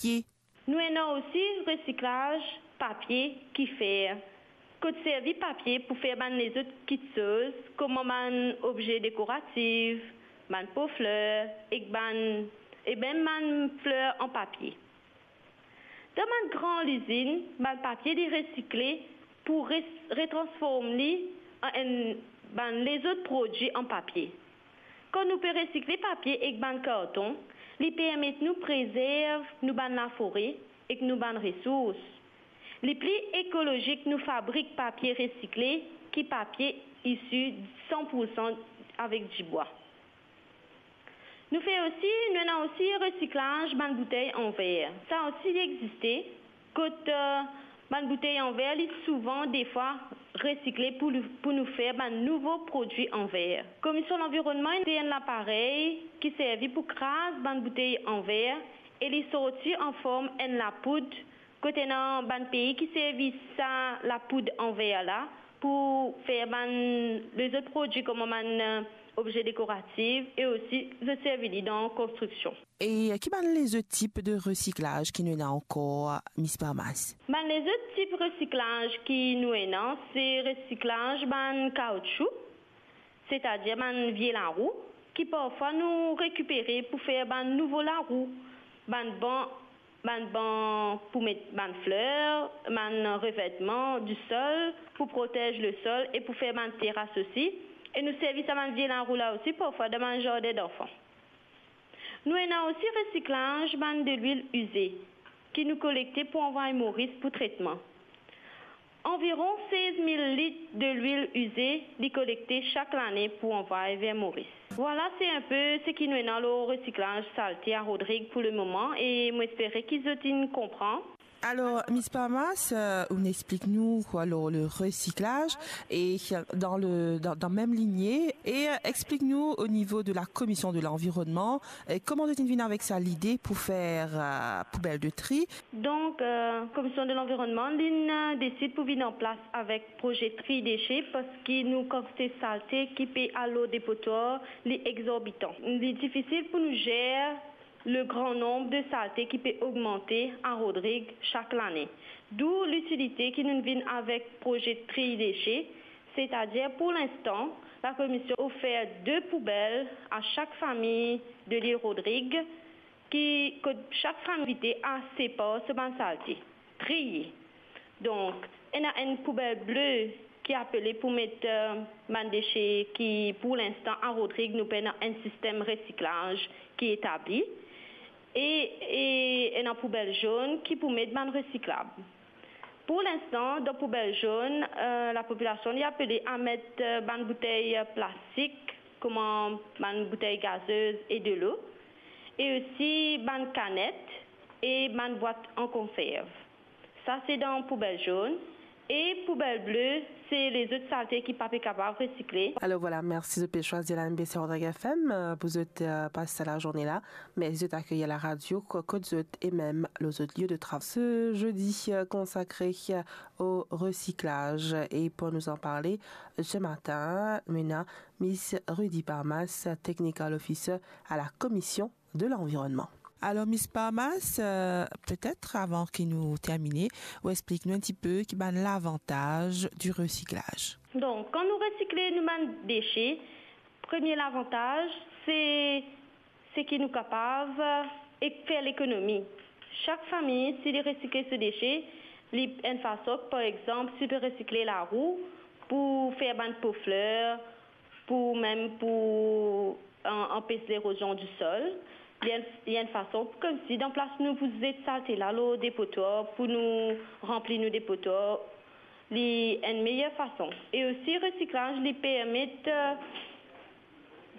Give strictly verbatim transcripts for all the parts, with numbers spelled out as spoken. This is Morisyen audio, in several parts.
papie. Nou ena osi resiklaz papie ki fer, kot servi papie pou fer bann lezot kitsoz, kouma bann obze dekoratif, bann po fler, ek bann, e mem bann fler an papie. Dan bann gran lizinn, bann papie li resikle pou res-, retransform li an enn bann lezot prodwi an papie. Kan nou pe resikle papie ek bann karton, li permet nou prezerv nou bann lafore ek nou bann resours. Li pli ekolozik nou fabrik papie resikle ki papie isi san pou san avek dibwa. Nou fer osi, nou ena osi resiklaz bann boutey an ver. Sa osi li existe, kot, eh, bann boutey an ver, li souvan defwa resikle pou li, pou nou fer bann nouvo prodwi an ver. Komisyon Lanvironnman ena enn laparey ki servi pou kraz bann boutey an ver e li sorti an form enn lapoud, kot ena bann pei ki servi sa lapoud an ver la pou fer bann lezot prodwi kouma bann, eh, obze dekoratif e osi zot servi li dan konstriksion. E ki bann lezot tip de resiklaz ki nou ena ankor, Miss Parmas? Bann lezot tip resiklaz ki nou ena, se resiklaz bann kaoutchou, setadir bann vie larou, ki parfwa nou rekipere pou fer bann nouvo larou, bann ban, bann ban pou met bann fler, bann revertman di sol pou protez lesol e pou fer bann teras osi. E nou servi sa bann vie larou la osi parfwa dan bann zardin danfan. Nou ena osi resiklaz bann delwil ize ki nou kolekte pou anvway Moris pou tretman. Anviron sez mil lit delwil ize li kolekte sak lane pou anvway ver Moris. Vwala, se enpe seki nou ena lor resiklaz salte a Rodrig pou lemoman e mo espere ki zot inn konpran. Alor, Miss Parmas, eh, ou explik nou, alor, le resiklaz e dan le, dan, dan mem linie, e, eh, explik nou o nivo de la Komisyon de Lanvironnman, eh, kouma zot inn vinn avek sa lide pou fer, eh, poubel de tri. Donk, eh, Komisyon de Lanvironnman, li inn, eh, desid pou vinn an plas avek proze tri dese, parski nou kantite salte ki pe al lor depotwar, li exorbitan. Li difisil pou nou zer le gran nonb de salte ki pe ogmante a Rodrig sak lane. Dou litilite ki nou vinn avek proze tri dese, setadir pou linstan, lakomision ofer de poubel a sak fami de lil Rodrig, ki, kot sak fami invite a separ so bann salte, triye. Donk, ena enn poubel ble ki apele pou met, eh, bann dese ki, pou linstan, a Rodrig, nou pena enn sistem resiklaz ki etabli. E, e ena poubel zonn ki pou met bann resiklab. Pou linstan, dan poubel zonn, eh, lapopilasion li apele a met, eh, bann boutey, eh, plastik, kouma bann boutey gazez e delo, e osi bann kanet e bann bwat an konserv. Sa se dan poubel zonn. E poubel ble, se lezot salte ki pa pe kapav resikle. Alor vwala, mersi zot pe swazir la M B C Rodrig F M, eh, pou zot, eh, pas sa lazourne la. Mersi zot akeyir laradio, ko-, kot zot e mem lor zot lie de travay. Se zodi, eh, konsakre, eh, o resiklaz. E pou nous en parler, ce matin, nou ena Miss Rudy Parmas, Technical Officer à la Commission de l'Environnement. Alor, Miss Parmas, eh, petet avan ki nou termine, ou explik nou enn tipe ki bann lavantaz di resiklaz. Donk, kan nou resikle nou bann dese, premie lavantaz, se, se ki nou kapav, eh, ek fer lekonomi. Sak fami, si li resikle so dese, li enn fason, par exanp, si li pe resikle larou pou fer bann po fler, pou mem pou an-, anpes lerozion di sol. Li enn, li enn fason, koumsi dan plas nou pou zet salte la lor depotwar, pou nou ranpli nou depotwar, li enn meyer fason. E osi, resiklaz, li permet, eh,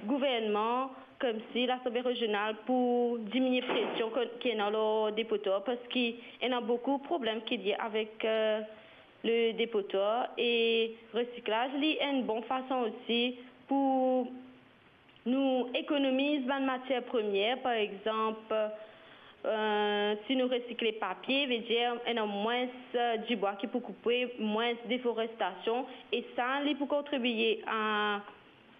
gouvernman, koumsi Lasanble Rezional, pou diminie presion ki, ki ena lor depotwar, parski ena boukou problem ki lie avek, eh, le depotwar, e resiklaz, li enn bon fason osi pou nou ekonomiz bann matier premie, par exanp, eh, si nou resikle papie, vedir ena mwins, eh, dibwa ki pou koupe, mwins deforestasion, e sa, li pou kontribie a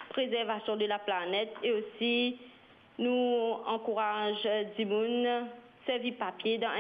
prezervasion de laplanet, e osi nou ankouraz dimoun Servi papie dan